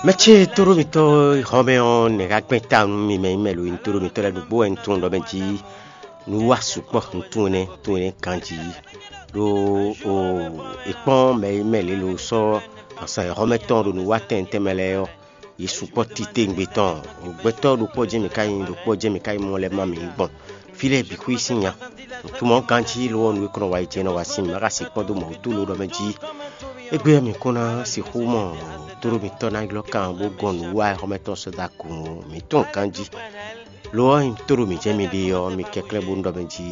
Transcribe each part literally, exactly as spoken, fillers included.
Mɛ ce tóɖó mitɔ́ xɔmɛ ɔ́, nɛ̌ ka gbɛn ta nú mi mɛ nyí mɛ lo? Tóɖó mitɔ́ lɛ́ɛ nǔgbó wɛ un tunwun ɖɔ mɛ jí nǔ wa sukpɔ́ un tunwun énɛ́ tunwun énɛ́ ganjí. Ɖó o è kpɔ́n mɛ e mɛ lě lo sɔ́ azǎn e xɔ́mɛ tɔn ɖo nǔ wa tɛnmɛ tɛnmɛ lɛ́ɛ ɔ́, yě sukpɔ́ titewungbe tɔn. Gbɛtɔ́ ɖokpó jɛ́n mǐ ka nyí, ɖokpó jɛ́n mǐ ka nyí mɔ lɛ́ɛ má mǐ gbɔn. Fí lɛ́ɛ bǐ xwí sín nya. Nǔtumɔ ganjí lo ɔ́, nǔ e kɔn nɔ wa yi jɛ nɔ wa sín mǐ ma ka sixú kpɔ́n dó mɔ̌ wútu lo ɖɔ mɛ jí. Égbé ɔ́, mǐ kún ná sixú mɔ tóɖó mitɔ́ ná ylɔ́ kan bó gɔn nǔ wa xɔ́mɛ tɔn sɔ́ dó agun ó. Mǐ tunwun ganjí. Lo ɔ́, nyí tóɖó mǐ jɛ́n mi ɖe ɔ́, mi kɛnklɛ́n bónú ɖɔ mɛ jí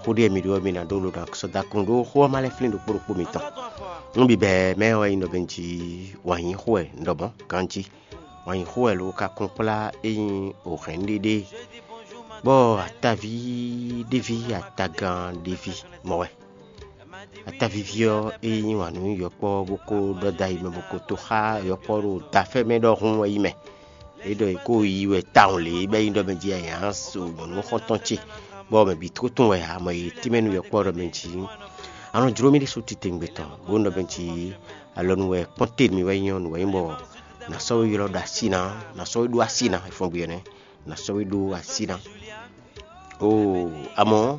xó ɖé mi ɖó ɔ́, mi ná ɖó lo ná sɔ́ dó agun ɖó xó ɔ́ ma lɛ́ flín ɖokpó ɖokpó mitɔn. Nú bǐbɛ́ mɛ ɔ́ wɛ nyí ɖɔ mɛ jí wǎn yí xó wɛ un ɖɔ mɔ̌ ganjí. Wǎn yí xó wɛ lo ka kún kplá é nyí òhɛ̌n ɖé ɖé, bɔ ataví ɖéví atagán ɖéví mɔ wɛ. Atavíví ɔ́, é yí wǎn nú yɔkpɔ́ bó kó ɖɔ dó ayi mɛ bó ko tó xá yɔkpɔ́ ɖo dafɛ́ mɛ ɖɔhun wɛ yí mɛ. É ɖɔ è kó yi wɛ tawun lě bɔ é nyí ɖɔ mɛ jí nya so nyɔ̌nu xɔ́ntɔn ce, bɔ mɛ bǐ tló tunwun wɛ ǎ, mɔ e tínmɛ nú yɔkpɔ́ ɖɔ mɛ jí. A nɔ jló mì ɖésú titewungbe tɔn, bó nɔ mɛ jí alɔ nú wɛ kpɔ́n te mì wɛ nyí ɔ́, nǔ wɛ nyí bɔ nǎ sɔ́ we ylɔ́ ɖo así ná, nǎ sɔ́ we ɖó así ná, è fɔ́n gbe ɔ́ nɛ́, nǎ sɔ́ we ɖó así ná. Oo, amɔ̌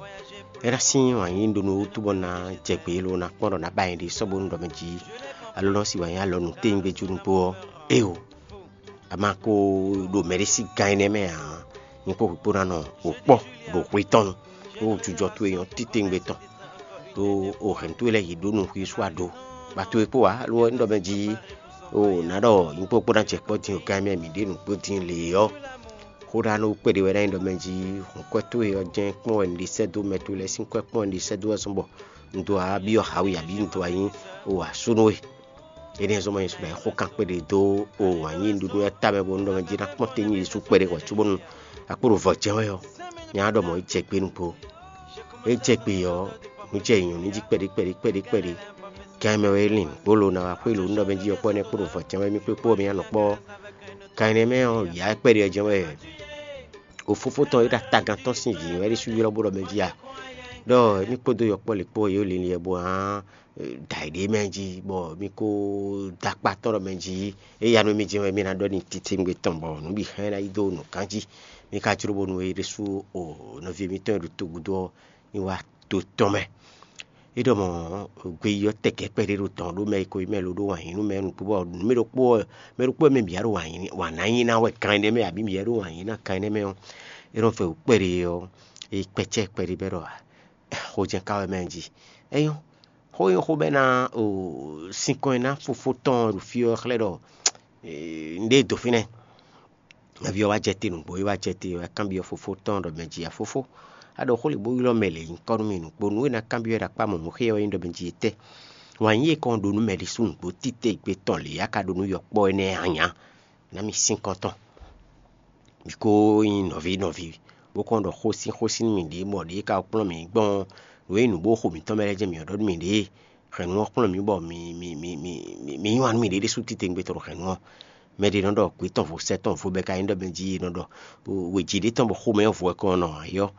é ná sín wǎn yí ɖó nú wútu bɔ ná jɛ gbě lo ná kpɔ́n ɖɔ ná ba nyɛ ɖi sɔ́ bónú ɖɔ mɛ jí alɔ nɔ sí wǎn yí alɔ nú téwúngbéjú nukpó ɔ́. Éeǒ, a ma ko ɖo mɛɖé sín gan énɛ́ mɛ ǎ. Nyí kpó hwǐkpó ná nɔ wǒ kpɔ́ ɖo hwe tɔn nu, bó jujɔ towe nyɔ́ titewungbe tɔn. Ɖó o hɛ̌n towe lɛ́ɛ yě ɖó nǔ xwísú aɖó. Ba towe kpó ǎ, lo ɔ́, un ɖɔ mɛ jí o nǎ ɖɔ nyí kpó kpó ná jɛ kpɔ́ din o gan mɛ mǐ ɖe nǔgbó din lě ɔ́. Xó ɖa nú kpéɖé wɛ ná nyí ɖɔ mɛ jí hǔn kwɛ́ towe ɔ́ jɛ́n kpɔ́n wɛ un ɖe sɛ́ dó mɛ towe lɛ́ɛ sín kwɛ́ kpɔ́n un ɖe sɛ́ dó wɛ zɔ́n bɔ un dó wá byɔ́ hǎ we abǐ un dó wá nyí o asúnú we. Énɛ́ zɔ́n ma nyí suɖa e xó kan kpéɖé dó o wǎn yí nǔɖuɖu lɛ́ɛ tamɛ bónú ɖɔ mɛ jí ná kpɔ́n tɛ́ nyí Jezu kpɛɖé hwɛ̌ cóbónú akpó ɖo vɔ̌ jɛ́n wɛ ɔ́, nya ɖɔ mɔ̌ é jɛ gbé nukpó. É jɛ gbé ɔ́, nǔ jɛ nyɔ̌nu jí kpɛɖé kpɛɖé kpɛɖé kpɛɖé. Gan e mɛ wɛ é lin gbolo ná wá xwé lo nú ɖɔ mɛ jí ɔ́ kpɔ́ nɛ́ kpo ɖo vɔ̌ jɛ́n wɛ mí kpé kpó mɛ anɔ kpɔ́. Gan énɛ́ mɛ ɔ́, yǎ kpɛɖé ɔ́ jɛ́n wɛ o fofó tɔn e ɖo atagan tɔn sín vǐ wɛ ɖésú ylɔ́ bó ɖɔ mɛ jí a? Ɖɔ émí kpódó yɔkpɔ́ lě kpó yě linlin wɛ bó hán dǎ yi ɖě mɛ jí, bɔ mí kó dó akpá tɔn ɖɔ mɛ jí. É ya nú mí jɛ́n wɛ mí ná ɖɔ n'i titewungbe tɔn bɔ nǔ bǐ hɛn ná yi dó nǔ gán jí. Mí ka jló bónú é ɖésú o nɔví mǐtɔn e ɖo togun dó ɔ́ ní wá to tɔn mɛ. É ɖɔ mɔ̌, gbeyíyɔ́ tɛkɛ́ kpɛɖé ɖo tɔn ɖó mɛ e ko nyí mɛ lo ɖó wǎn yí nú mɛ nukpó bɔ nǔ mɛ ɖokpó ɔ́, mɛ ɖokpó ɔ́ mɛ bǐ wá ɖo wǎn yí wǎn ná nyí ná wɛ kan énɛ́ mɛ, abǐ bǐ wá ɖo wǎn yí ná kan énɛ́ mɛ ɔ́, é nɔ fɛ wǔ kpɛɖé ɔ́, é kpɛ́cɛ́ kpɛɖé bɛ́ ɖɔ ǎ. Xojɛ́n ka wɛ mɛ jí. É nyɔ́, xó nyɔ́ xó bɛ́ ná o sinkɔn e ná fofó tɔn ɖo fí ɔ́ xlɛ́ ɖɔ un ɖe do fínɛ́. Nɔví ɔ́ wá jɛ te nǔgbó, é wá jɛ te, é wá kanbyɔ́ fofó tɔn ɖɔ mɛ jí a fofó, a ɖɔ xó lě bó ylɔ́ mɛ lě nyǐkɔ nú mì nǔgbó, nǔ e ná kanbyɔ́ ɖo akpá mɔ̌ nú xé ɔ́ nyí ɖɔ mɛ jí etɛ́? Wǎn yí e kɔn ɖó nú mɛ ɖésú nǔgbó títewungbe tɔn lě a ka ɖó nú yɔkpɔ́ énɛ́ a nya? Ná mi sín kɔn tɔn. Mǐ ko nyí nɔví nɔví, bó kɔn ɖɔ xósin xósin nú mǐɖée, bɔ ɖěe ka kplɔ́n mǐ gbɔn nǔ e nyí nǔgbó xo mǐtɔn mɛ lɛ́ɛ jɛ́n mǐ ɔ́ ɖɔ nú mǐɖée. Hɛ̌nnu ɔ́ kplɔ́n mǐ bɔ mi mi mi mi mi mi yí wǎn nú mǐɖée ɖésú titewungbe tɔn ɖo hɛ̌nnu ɔ́. Mɛ ɖě nɔ ɖɔ gbě tɔn vo sɛ́ tɔn vo bɔ é ka nyí ɖɔ mɛ jí è nɔ ɖɔ wějí ɖé tɔn bɔ xomɛ ɔ́ vo wɛ kɔn nɔ ayɔ́.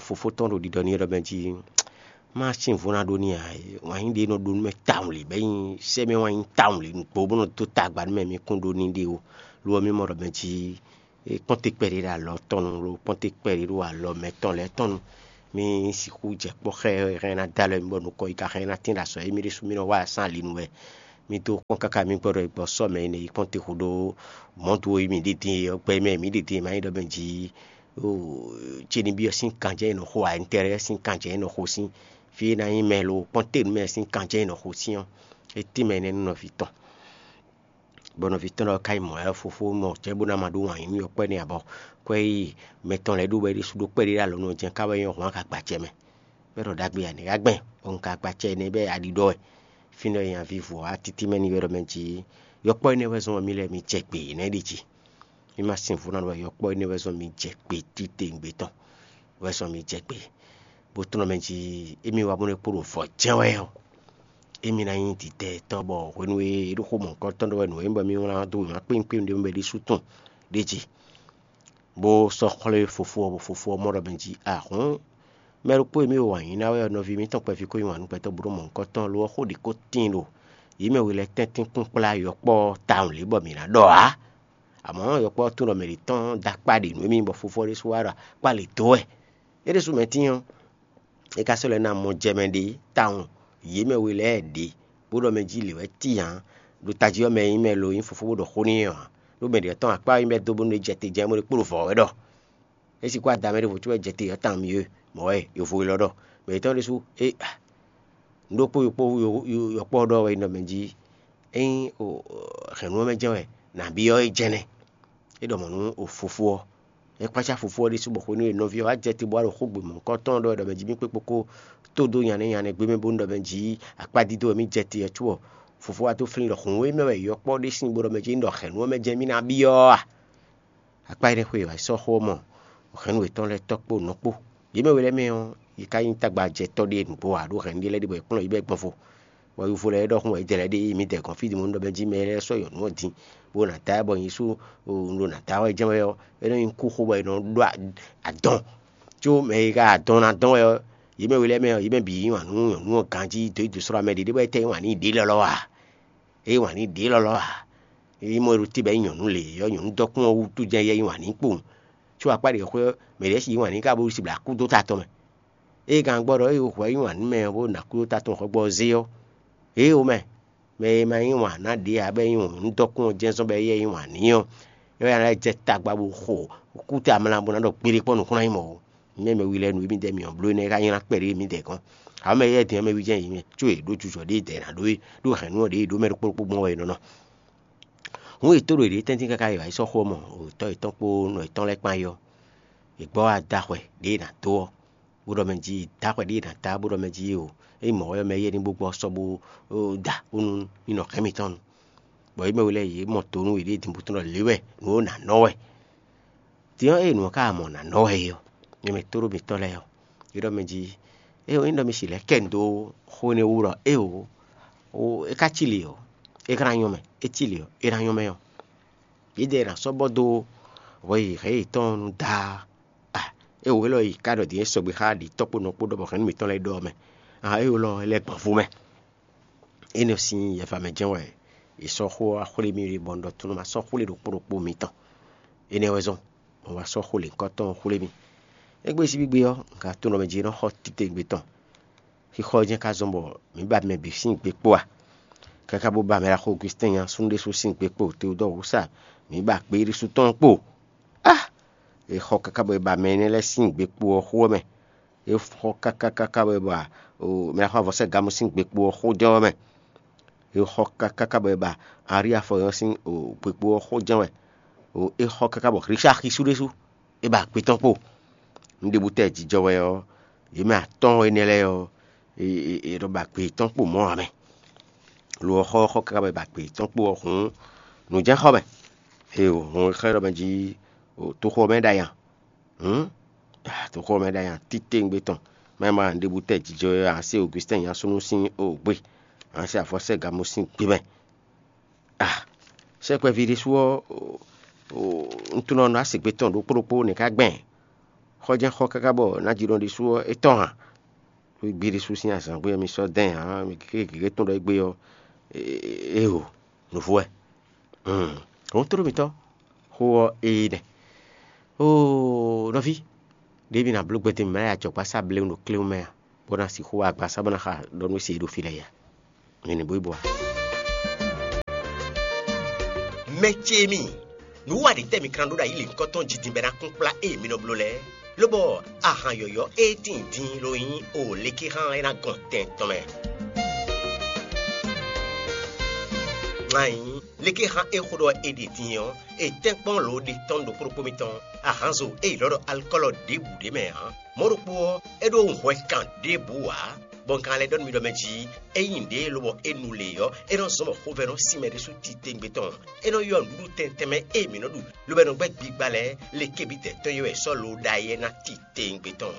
Fofó tɔn ɖo ɖiɖɔ n'i ɖɔ mɛ jí má sin vo ná ɖó n'i ǎ. Wǎn yí ɖě nɔ ɖó nú mɛ tawun lě bɔ é nyí sɛ́ mɛ wǎn yí tawun lě nǔgbó bó nɔ dó tagba nú mɛ mi kún ɖó n'i ɖe ó. Lo ɔ́, mì mɔ ɖɔ mɛ jí kpɔ́nte kpɛɖé ɖo alɔ tɔn nu lo kpɔ́nte kpɛɖé ɖo alɔ mɛtɔn lɛ́ɛ tɔn nu. Mì sixú jɛ kpɔ́ xá ɛ hɛn ná dó alɔ mì bɔ nukɔn yi ka hɛn ná tín ɖo azɔ̌ e mì ɖésú mì nɔ wa asán ali nu wɛ. Mì dó kpɔ́n káká mì gbɔ ɖɔ è gbɔ sɔ́ mɛ énɛ́ yi kpɔ́nte xo ɖó mɔ̌ dó e mì ɖi din e ɔ́ gbɛ mɛ mǐ ɖi din e ma nyí ɖɔ mɛ jí ce ní byɔ́ sín kanjɛ e nɔ xo ǎ, intérêt sín kanjɛ e nɔ xo sín fí e ná nyí mɛ lo kpɔ́nte nú mɛ sín kanjɛ e nɔ xo sín ɔ́, é tín mɛ énɛ́ nú nɔví tɔn. Bɔ nɔví tɔn lɔ ka yi mɔ ɛ fofó mɔ cɛ́ bó ná ma ɖó wǎn yí nú yɔkpɔ́ énɛ́ ǎ bɔ kwɛ́ yi mɛ tɔn lɛ́ɛ ɖó wɛ ɖésú ɖó kpɛɖé ɖo alɔ nú ɔ́ jɛ́n ká wɛ nyɔ́ hɔn ka gbacɛ mɛ. Bɔ é ɖɔ ɖagbe ǎ, nɛ̌ ka gbɛn? Bɔ un ka gbacɛ énɛ́ bɛ́ aɖi ɖɔ wɛ. Fínɛ́ nya vívɔ ɔ́, atítí mɛ ní ylɔ́ mɛ jí yɔkpɔ́ énɛ́ wɛ zɔ́n mì lɛ́ɛ mi jɛ gbe yě nɛ́ ɖi jí. Mì ma sin vú ná ɖɔ wɛ yɔkpɔ́ énɛ́ wɛ zɔ́n mi jɛ gbe titewungbe tɔn wɛ zɔ́n mi jɛ gbe. Bó tlɔ́n mɛ jí émí wá bó nɔ́ kpo ɖo vɔ̌ jɛ́n wɛ ɔ́, émí ná nyí dǐdɛtɔ́ bɔ hwenu e é ɖo xó mɔ̌hunkɔtɔn ɖɔ wɛ nǔ e nyí bɔ mì wlán dó wěma kpínkpín ɖé mɛ ɖésú tɔn ɖ'é jí, bó sɔ́ xwlé fofó ɔ́, bɔ fofó ɔ́ mɔ ɖɔ mɛ jí ahɔ̌n mɛ ɖokpó e mì ɖo wǎn yí ná wɛ ɔ́, nɔví mǐtɔn kpɛví ko yí wǎn nú gbɛtɔ́ bó ɖó mɔ̌hunkɔtɔn lo ɔ́, xó ɖě ko tíin ɖo Yě mɛ we lɛ́ɛ tɛ́ntin kún kplá yɔkpɔ́ ɔ́ tawun lě bɔ mǐ ná ɖɔ ǎ. Amɔ̌, yɔkpɔ́ ɔ́ tunwun ɖɔ mɛ ɖě tɔn dó akpá ɖě nú émí bɔ fofó ɔ́ ɖésú wá ɖo akpá lě dó wɛ. É ɖésú mɛ tíin ɔ́, é ka sɔ́ lɛ́ ná mɔ jɛ mɛ ɖě tawun yě mɛ we lɛ́ɛ ɖě, bó ɖɔ mɛ jí lě wɛ tíin ǎ. Ɖo tají ɔ́ mɛ e nyí mɛ lo nyí fofó bó ɖɔ xó n'i ɔ́ ǎ. Ɖó mɛ ɖě tɔn akpá ɔ́ nyí bɔ é dó bónú é jɛ te jɛ́n bó ɖo kpó ɖo vɔ̌ wɛ ɖɔ. É sixú ada mɛ ɖěvo cóbɔ é jɛ te ɔ́ tawun mì é, mɔ̌ wɛ yovo élɔ́ ɖɔ. Mɛ yětɔn ɖésú é nǔ ɖokpó yɔkpɔ́ ɖɔ wɛ nɔ mɛ jí. Ényí hɛ̌nnu ɔ́ mɛ jɛ́n wɛ nǎ byɔ́ é jɛ́nɛ. É ɖɔ mɔ̌ nú fofó ɔ́. É kpácá fofó ɔ́ ɖésú bɔ xwenu e nɔví ɔ́ wá jɛ te bó wá ɖo xógbe mɔ̌hunkɔtɔn ɔ́ ɖɔ wɛ ɖɔ mɛ jí mì kpékpó kó tó dó nyanɛ́ nyanɛ́ gbé mɛ bónú ɖɔ mɛ jí akpá dídó wɛ mì jɛ te ɔ́ có ɔ́, fofó wá dó flín ɖɔ hǔn e mɛ wɛ yɔkpɔ́ ɖé sín bó ɖɔ mɛ jí un ɖɔ hɛ̌nnu ɔ́ mɛ jɛ́n mì ná byɔ́ a? Akpá énɛ́ xwe e wǎ yi sɔ́ xó ɔ́ mɔ hɛ̌nnu yětɔn lɛ́ɛ tɔ́ kpó nɔ kpó. Yě mɛ we lɛ́ɛ mɛ ɔ́, yě ká nyí tágbajɛtɔ́ ɖé nǔgbó ǎ ɖó hɛ̌nnu ɖé lɛ́ɛ ɖíbɔ è kplɔ́n yě bɔ è gbɔn vo. Bɔ yovo lɛ́ɛ ɖɔ xún wɛ é jɛ lɛ́ ɖe yi mǐdɛɛ gɔ́n fí din mɔ un ɖɔ mɛ jí mɛ lɛ́ɛ sɔ́ nyɔ̌nu ɔ́ din, bó ná da ɛ bɔ nyɛ sú un ɖo nǎ da wɛ jɛ́n wɛ ɔ́, é nɔ nyí kú xó bɔ è nɔ ɖó adɔn. Có mɛ e ka adɔn ná dɔn wɛ ɔ́, yě mɛ we lɛ́ɛ mɛ ɔ́, yě mɛ bǐ yí wǎn nú nyɔ̌nu ɔ́ ganjí dó yi dǒ slɔ́ mɛ ɖě ɖé bɔ é tɛ́ yí wǎn n'i ɖě lɔ́lɔ́ a? É yí wǎn n'i ɖě lɔ́lɔ́ a? É nyí mɔ e ɖo te bɔ é nyí nyɔ̌nu lě ɔ́, nyɔ̌nu dɔkun ɔ́ wútu jɛ́n yɛ yí wǎn n'i kpowun. Có akpá ɖě xwé ɔ́, mɛ ɖě si yí wǎn n'i ka bó si blǎ kú dó ta tɔn mɛ. Ée gǎngbɔ́ ɖɔ é hwɛ yí wǎn nú mɛ ɔ́ bó ná kú dó ta tɔn xɔ gbɔ ɔ́ zé ɔ́, ě ó mɛ, mɛ e ma yí wǎn ná ɖě ǎ bɔ é nyí nyɔ̌nu dɔkun ɔ́ jɛ́n zɔ́n bɔ éyɛ́ yí wǎn n'i ɔ́, é wɛ ná lɛ́ jɛ tagba bó xo kúta amla bó ná ɖɔ gbeɖé kpɔ́n nǔkún ná nyí mɔ̌ ó. Nyɛ mɛ wi lɛ́ɛ nǔ e midɛɛ mǐ ɔ́ bló énɛ́ ka nylá kpɛɖé midɛɛ gɔ́n. Amɔ̌ mɛ éyɛ́ din ɔ́ mɛ wi jɛ́n yě mɛ, có yě ɖó jujɔ ɖé dɛ̌ ná ɖó é, ɖó hɛ̌nnu ɔ́ ɖě yě ɖó mɛ ɖokpó ɖokpó gbɔn wɛ è nɔ nɔ. Hǔn yě tó ɖo yěɖée tɛ́ntin káká yě wǎ yi sɔ́ xó ɔ́ mɔ, tɔ́ yětɔn kpó nɔ yětɔn lɛ́ɛ kpán yi ɔ́, yě gbɔ wá dó axwɛ ɖě è nǎ dó ɔ́, bó ɖɔ mɛ jí dó axwɛ ɖě è nǎ dá bó ɖɔ mɛ jí o, ényí mɔ̌ wɛ mɛ éyɛ́ ní bó gbɔ sɔ́ bó da bónú ní nɔ hɛn mǐtɔn nu. Bɔ yě mɛ we lɛ́ɛ yě mɔ to nú yěɖée din bó tunwun ɖɔ lě wɛ nǔ ó nǎ nɔ wɛ. Din ɔ́, ée nǔ ɔ́ ka mɔ nǎ nɔ wɛ é ɔ́, mɛ mɛ tóɖó mitɔn lɛ́ɛ ɔ́, é ɖɔ mɛ jí: Éeǒ, nyí ɖɔ mi si lɛ̌ kɛ un dó xó énɛ́ wú ɖɔ éeǒ, é ká cí lě ɔ́, é ka ná nyɔ́ mɛ; é cí lě ɔ́, é ná nyɔ́ mɛ ɔ́, yědɛɛ è nǎ sɔ́ bɔ dó hwɛ e hɛ̌ yětɔn ɔ́ nu daa. A, éeǒ, élɔ́ yi ká ɖɔ din é sɔgbe xá ɖǐtɔ́ kpó nɔ kpó ɖɔ bɔ hɛ̌nnu mǐtɔn lɛ́ɛ ɖɔ ɔ́ mɛ. A, éeǒ lɔ, é lɛ́ gbɔn vú mɛ. Énɛ́ sín yɛfa mɛ jɛ́n wɛ è sɔ́ xó ɔ́ wá xwlé mì ɖe bɔ un ɖɔ tlóló ma sɔ́ xwlé ɖokpó ɖokpó mitɔn. Énɛ́ wɛ zɔ́n, bɔ un wá sɔ́ xó lěhunkɔtɔn ɔ́ xwlé mì. Égbé síbígbe ɔ́, un ka tunwun ɖɔ mɛ jí é nɔ xɔ titewungbe tɔn. Xixɔ ɔ́ jɛ́n ka zɔ́n bɔ mǐ ba mɛ bǐ sín gbe kpó a? Káká bó ba mɛ ɖaxó Augustin nyasúnú ɖésú sín gbe kpó Teodɔ́ɔ Wusa, mǐ ba gbe ɖésú tɔn kpo. Á! È xɔ káká bɔ è ba mɛ énɛ́ lɛ́ɛ sín gbe kpo ɔ́ xó ɔ́ mɛ. È xɔ káká káká bɔ è ba mɛ ɖaxó Avɔsɛ́gamu sín gbe kpo ɔ́ xó jɛ́n ɔ́ mɛ. È xɔ káká káká bɔ è ba Aríafɔ ɔ́ sín gbe kpo ɔ́ xó jɛ́n wɛ. È xɔ káká bɔ Hlísáxisú ɖésú é ba gbe tɔn kpo. Nǔɖébú tɛ́ jijɔ wɛ ɔ́, yě mɛ atɔ́ɔ́n énɛ́ lɛ́ɛ ɔ́, è nɔ ba gbe yětɔn kpo mɔ̌ ǎ mɛ. Lo ɔ́, xɔ ɔ́ xɔ káká bɔ è ba gbe yětɔn kpo ɔ́ hǔn, nǔ jɛ́n xɔ mɛ. Ée hǔn xlɛ́ ɖɔ mɛ jí toxo ɔ́ mɛ ɖ'ayǐ a? Hǔn toxo ɔ́ mɛ ɖ'ayǐ a? Titewungbe tɔn, má nyí mɔ nǔɖébú tɛ́ jijɔ wɛ ǎ, sé Augustin nyasúnú sín o gbe, ǎ, sé Avɔsɛ́gamu sín gbe mɛ. A, sɛkpɛví ɖésú ɔ́, un tunɔ nɔ asegbe tɔn ɖokpó ɖokpó nɛ̌ ká gbɛn? Xɔ jɛ́n xɔ káká bɔ nǎjínɔ ɖésú ɔ́ é tɔ́n hǎn. Xwé gbe ɖésú sín azǎn gbé ɔ́ mi sɔ́ dɛn ǎ, mi gěgé gěgé tɔn ɖɔ égbé ɔ́, éeǒ, nǔvú wɛ. Hɔn tló mitɔ́, xó ɔ́ ée nɛ́. Oo, nɔví, ɖěe mi ná bló gbɛtɛ́ mǐ ma lɛ́ ajɔ̌gbásá blé ɖo kléwún mɛ a, bó ná sixú wá agbasá bó ná xa ɖɔ nú é se e ɖo fí lɛ́ɛ ya? Mi ní bó yi bɔ a? Mɛ ce mi, nǔ wa ɖě tɛ́ mi ka ná ɖó ɖo ayǐ lěhunkɔtɔn jí din bɔ é ná kún kplá ée mi nɔ bló lɛ́ɛ? Lobɔ ahan yɔ̌yɔ́ e tíin din ló nyí o lékexán e ná gɔn tɛn tɔn mɛ. Ŋa nyí lékexán e xó ɖɔ è ɖe din ɔ́, è tɛ́nkpɔ́n lǒ ɖe tɔn ɖokpó ɖokpó mitɔn. Ahanzo e è ylɔ́ ɖɔ alikɔ́lɔ ɖěbǔ ɖé mɛ ǎ. Mɔ̌ ɖokpó ɔ́, é ɖó hwɛ kan ɖěbǔ ǎ, bɔ un ka lɛ́ ɖɔ nú mi ɖɔ mɛ jí, ényí nǔɖé lobɔ é nu lě ɔ́, é nɔ zɔ́n bɔ xovɛ́ nɔ sin mɛ ɖésú titewungbe tɔn. É nɔ ylɔ́ nǔɖuɖu tɛntɛn mɛ e mǐ nɔ ɖu, lobo é nɔ gbɛ́ gbigba lɛ́ɛ, le kébí tɛ̌ tɔn e wɛ è sɔ́ lo ɖ'ayǐ ɔ́ ná titewungbe tɔn.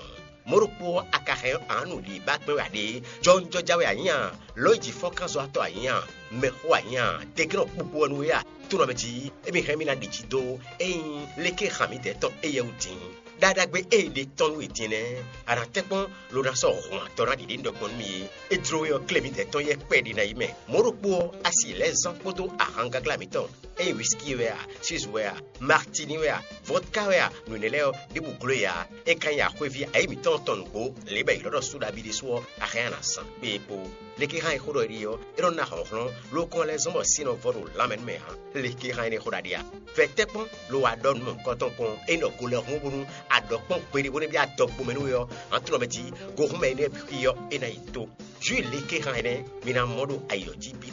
Mɔ̌ ɖokpó ɔ́, a ka hɛn ɔ́, a nǎ nu ɖě ba kpɛ́n wɛ a ɖe? Jɔwunjɔja wɛ a nyǐ a? Lǒ yi jǐ fɔ́nkánzɔ́watɔ́ a nyǐ a? Mɛxó a nyí a? Deglɔ́n kpukpu ɔ́ nú we a? Tónɔ mɛ jí, émí hɛn mì ná ɖi jí dó ényí léké hǎn mǐdɛɛ tɔn éyɛ́ wú din. Ɖaɖagbe e è ɖe tɔn nú we din nɛ́, a nǎ tɛ́nkpɔ́n lo ná sɔ́ hɔn atɔ́ ná ɖiɖe nú ɖɔ gbɔn nú mì é. É jló we ɔ́, klé mǐdɛɛ tɔn yɛ́ kpɛɖé ná yi mɛ. Mɔ̌ ɖokpó ɔ́, a si lɛ̌ zán kpódó ahangaglá mǐtɔn, ényí wisiki wɛ a, sizu wɛ a, martini wɛ a, vodka wɛ a, nǔ énɛ́ lɛ́ɛ ɔ́, ɖěbǔ gló e ǎ. É ka nyí axwéví ayǐ mǐtɔn tɔn nǔgbó, lě bɔ è ylɔ́ ɖɔ súɖabí ɖésú ɔ́, a hɛn a nǎ zán. Kpé e kpo. Léké hán e xó ɖɔ é ɖi ɔ́, é nɔ ná hlɔ̌nhlɔ́n, ló kɔn lɛ́ zɔ́n bɔ sin nɔ vɔ ɖo lanmɛ nú mɛ ǎ. Léké hán énɛ́ xó ɖaɖe a? Vɛ tɛ́ kpɔ́n lo wa ɖɔ nǔ mɔ̌hunkɔtɔn kpɔn, é nɔ go lɛ́ hun bó nú a ɖɔ kpɔ́n gbeɖé bó nɔ́ byɔ́ adɔgbomɛ nú we ɔ́, hǎn tlɔ mɛ jí gohúnmɛ énɛ́ bǐ xwí ɔ́, é ná yi tó. Jǔ léké hán énɛ́, mi ná mɔ ɖo ayǐ ɔ́ jí bǐ.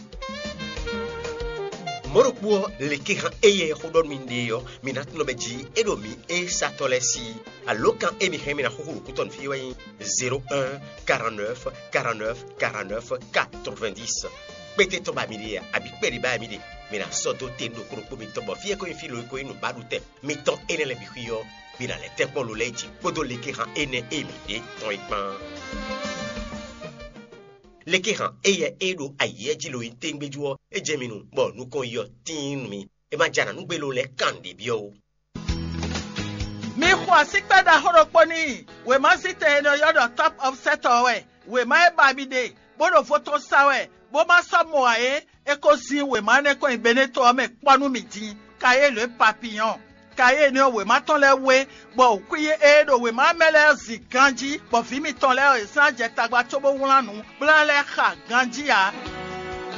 Mɔ̌ ɖokpó ɔ́, léké hán éyɛ́ xó ɖɔ nú mi ɖe ɔ́, mi ná tunɔ mɛ jí é ɖo mǐ é satɔ́ lɛ́ɛ sí. Alǒkan e mi hɛn mi ná xúxú ɖo kútɔ́ nú fí wɛ nyí zéro un, quarante-neuf, quarante-neuf, quarante-neuf, quatre-vingt-dix. Kpéte tɔn ba mi ɖe a, abǐ kpɛɖé ba mi ɖe? Mi ná sɔ́ dó te ɖokpó ɖokpó mitɔn bɔ fí e ko nyí fí lo e ko nyí nǔbaɖutɛn mitɔn énɛ́ lɛ́ɛ bǐ xwí ɔ́, mi ná lɛ́ tɛ́nkpɔ́n lo lɛ́ɛ jí kpódó léké hán énɛ́ e mi ɖe tɔn é kpán. Léké hán éyɛ́ e ɖo ayǐ jí lo nyí téŋgbéjú ɔ́, é jɛ mi nu, bɔ nukɔn yi ɔ́ tíin nú mi. É ma jɛ anǎ nú gbé lo lɛ́ɛ kan nǔɖé byɔ́ ó. Mi xo asíkpɛ́ ɖaxó ɖokpó n'i. Wěma zítɛn e nɔ ylɔ́ ɖɔ Top Offset ɔ́ wɛ. Wěma e ba mi ɖe, bó ɖo vo tɔn sa wɛ, bó ma sɔ́ mɔ ǎ é, é ko zín wěma énɛ́ kɔn nyi Beneto ɔ́ mɛ kpɔ́ nú mì din. Kayélu e papiyɔn. Kayélu ɔ́, wěma tɔn lɛ́ɛ wé, bɔ wǔkwín e ɖo wěma mɛ lɛ́ɛ zin ganjí, bɔ vǐ mitɔn lɛ́ɛ ɔ́, è zán jɛ tagba cóbó wlán nǔ bó ná lɛ́ xa ganjí ǎ.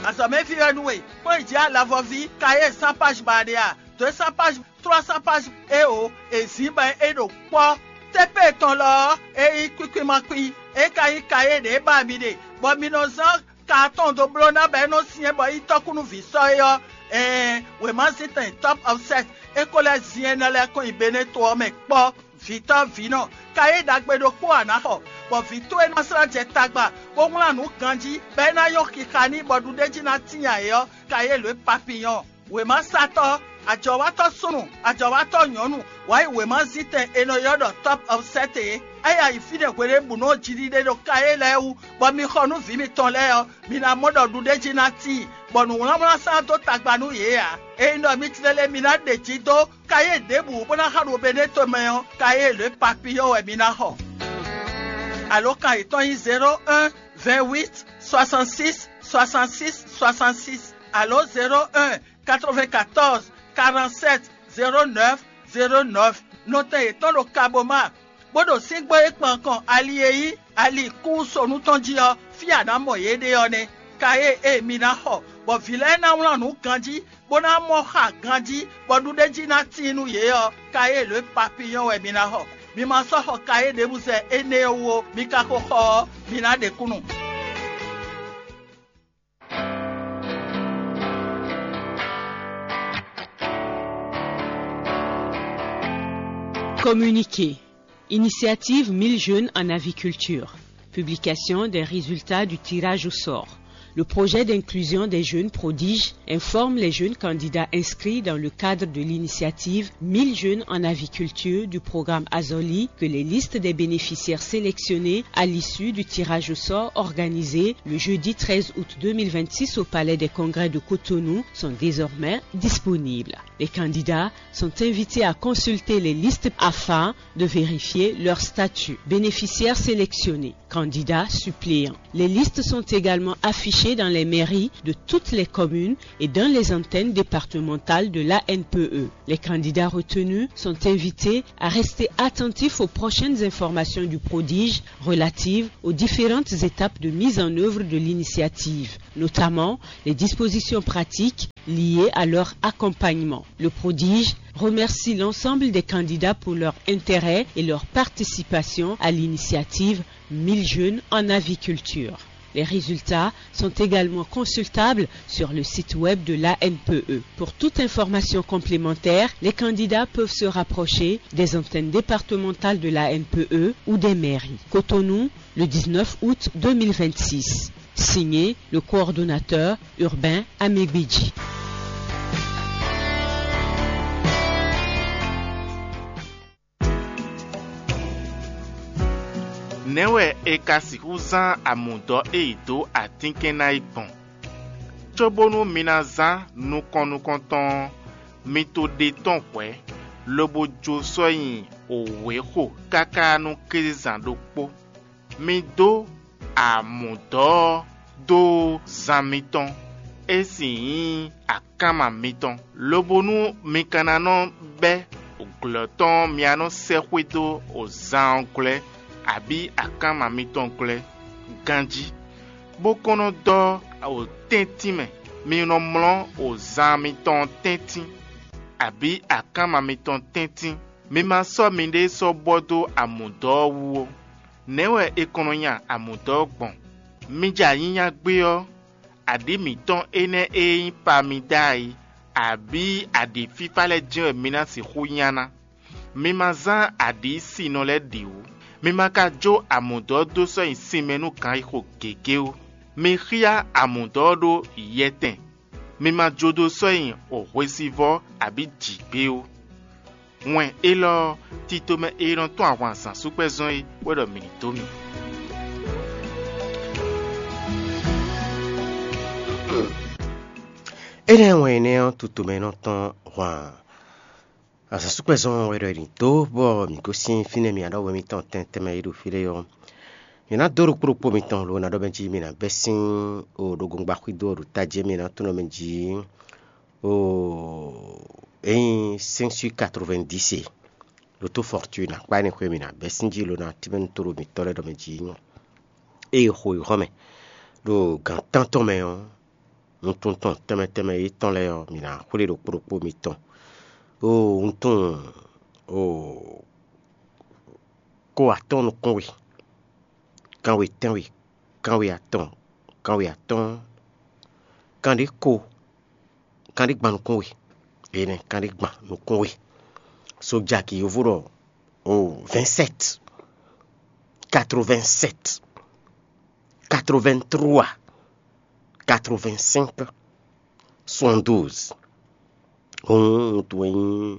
Azɔ̌mɛví wɛ nú we, kpɔ́n yi jǐ alavɔví Kayélu sán páj ba ɖe a? Dǒ e sán páj trois cents pages eo è zǐn bɔ é ɖo kpɔ́. Tépée tɔn lɔ ɔ́, é nyí kwíkwín ma kwín, é ka nyí kayé ɖě ba mi ɖe, bɔ mi nɔ zán ka atɔn dó bló ná bɔ é nɔ syɛ́n bɔ é nyí tɔ́kúnúví sɔ́ é ɔ́, ɛɛn, wěma zítɛn Top Offset é ko lɛ́ zin énɛ́ lɛ́ɛ kɔn nyi Beneto ɔ́ mɛ kpɔ́. Vǐtɔ́ vǐnɔ, kayé ɖagbe ɖokpó ǎ ná xɔ, bɔ vǐ towe ná slá jɛ tagba, bó wlán nǔ ganjí, bɔ é ná nyɔ́ xixa n'i bɔ ɖuɖéjí ná tíin ayǐ ɔ́, kayé lǒ e papiyɔn. Wěmasatɔ́, ajɔ̌watɔ́ súnnu, ajɔ̌watɔ́ nyɔ̌nu, wǎ yi wěmazítɛn è nɔ ylɔ́ ɖɔ Top Offset é. É yi ayǐ fínɛ́ hweɖěbǔnu ɔ́ jiɖiɖe ɖo kayé lɛ́ɛ wú, bɔ mi xɔ nú vǐ mitɔn lɛ́ɛ ɔ́, mi ná mɔ ɖɔ ɖuɖéjí ná tíin, bɔ nǔwlánwlán sán dó tagba nú yě ǎ. Ényí ɖɔ mi tlélé mi ná ɖe jǐ dó kayé ɖěbǔ bó ná xa ɖo Beneto mɛ ɔ́, kayé lě papiyɔ́ wɛ mi ná xɔ. Alǒkan yětɔn nyí zéro un, vingt-huit, soixante-six, soixante-six, soixante-six, alo zéro un, quatre-vingt-quatorze, quarante-sept, zéro neuf, zéro neuf. Nɔtɛn yětɔn ɖo Kaboma, bó ɖo síngbó e kpan kɔn ali e nyí ali kúnsonu tɔn jí ɔ́, fí a nǎ mɔ yě ɖe ɔ́ nɛ́. Kayé e mi ná xɔ, bɔ vǐ lɛ́ɛ ná wlán nǔ ganjí, bó ná mɔ xa ganjí, bɔ ɖuɖéjí ná tíin nú yě ɔ́, kayé lě papiyɔ́n wɛ mi ná xɔ. Mi ma sɔ́ xɔ kayé ɖěbǔ zɛ énɛ́ ɔ́ wú ó, mi ka ko xɔ ɔ́, mi ná ɖe kúnnu. Communiqué. Initiative mille jeunes en aviculture. Publication des résultats du tirage au sort. Le projet d'inclusion des jeunes prodiges informe les jeunes candidats inscrits dans le cadre de l'initiative mille jeunes en aviculture du programme Azoli que les listes des bénéficiaires sélectionnés à l'issue du tirage au sort organisé le jeudi treize août deux mille vingt-six au Palais des Congrès de Cotonou sont désormais disponibles. Les candidats sont invités à consulter les listes afin de vérifier leur statut. Bénéficiaires sélectionnés, candidats suppléants. Les listes sont également affichées dans les mairies de toutes les communes et dans les antennes départementales de l'A N P E. Les candidats retenus sont invités à rester attentifs aux prochaines informations du prodige relatives aux différentes étapes de mise en œuvre de l'initiative, notamment les dispositions pratiques liées à leur accompagnement. Le prodige remercie l'ensemble des candidats pour leur intérêt et leur participation à l'initiative mille jeunes en aviculture. Les résultats sont également consultables sur le site web de l'A N P E. Pour toute information complémentaire, les candidats peuvent se rapprocher des antennes départementales de l'A N P E ou des mairies. Cotonou, le dix-neuf août deux mille vingt-six. Signé le coordonnateur urbain Amégbédji. Nɛ̌ wɛ è ka sixú zán amǔdɔ́ e yi dó atínkɛn ná é gbɔn? Cóbónú mi ná zán nukɔn nukɔntɔn ɔ́, mi to ɖe tɔ́n hwɛ̌, lobo jó sɔ́ nyi wěxo káká nú kézezán ɖokpó. Mi dó amǔdɔ́ ɔ́ dó zan mitɔn, é sì nyí akánma mitɔn, lobo nú mi ka ná nɔ bɛ́ glɔ̌ tɔn ɔ́, mi ná nɔ sɛ́ xwedó zan ɔ́ glɔ́, abǐ akánma mitɔn glɔ́ ganjí, bó kɔn nɔ dɔ́ tɛ́ntin mɛ. Mi nɔ mlɔ́ zan mitɔn tɛ́ntin, abǐ akánma mitɔn tɛ́ntin. Mi ma sɔ́ miɖée sɔ́ bɔ dó amǔdɔ́ ɔ́ wú ó. Nɛ̌ wɛ è kɔn nɔ nya amǔdɔ́ ɔ́ gbɔn? Mi jɛ anyínya gbé ɔ́, aɖǐ mǐtɔn énɛ́ e nyí Pamida é, abǐ aɖǐ fífá lɛ́ɛ jɛ́n wɛ mi ná sixú nya ná. Mi ma zán aɖǐ sinɔ lɛ́ɛ ɖě wú. Mi ma ka jó amǔdɔ́ dó sɔ́ nyi sin mɛ nú ganxixo gěgé ó. Mi xyá amǔdɔ́ ɔ́ ɖó yɛtɛn. Mi ma jó dó sɔ́ nyi hwesivɔ́ abǐ jǐgbé ó. Wɛn élɔ́ ɔ́, tito mɛ e nɔ tɔ́n ahwan zǎnsúkpɛ́zɔn é wɛ ɖɔ mǐ ní dó mì. Énɛ́ wɛn énɛ́ ɔ́, tutomɛ nɔ tɔ́n hwan azǎnsúkpɛ́zɔn wɛ ɖɔ è nǐ dó, bɔ mǐ gosín fínɛ́ mǐ aɖɔ́wɛ mitɔn tɛntɛn mɛ e ɖo fí lɛ́ɛ ɔ́. Mǐ ná dó ɖokpó ɖokpó mitɔn lo ná ɖɔ mɛ jí mi ná bɛ́ sín o ɖo gongba xwído ɔ́ ɖo tají mi ná tunɔ mɛ jí o ényí cinq sur quatre-vingt-dix e. Loto fortune akpá énɛ́ xwé mi ná bɛ́ sín jí lo ná tínmɛ nú tóɖo mǐtɔn lɛ́ɛ ɖɔ mɛ jí eye xo yi hɔn mɛ ɖo gǎn tántɔn mɛ ɔ́, wuntun tɔn tɛnmɛ tɛnmɛ yětɔn lɛ́ɛ ɔ́, mǐ ná xwlé ɖokpó ɖokpó mitɔn. Oo, wuntun oo ko atɔ́ɔ́n nukún we, kanwe tɛ́nwe, kanwe atɔn, kanwe atɔ́ɔ́n, kanɖé ko, kanɖé gban nukún we, énɛ́ kanɖé gban nukún we. Sojaki yovo ɖɔ oo vingt-sept, quatre-vingt-sept, quatre-vingt-trois, quatre-vingt-cinq, soixante-douze. Hǔn wuntun e nyí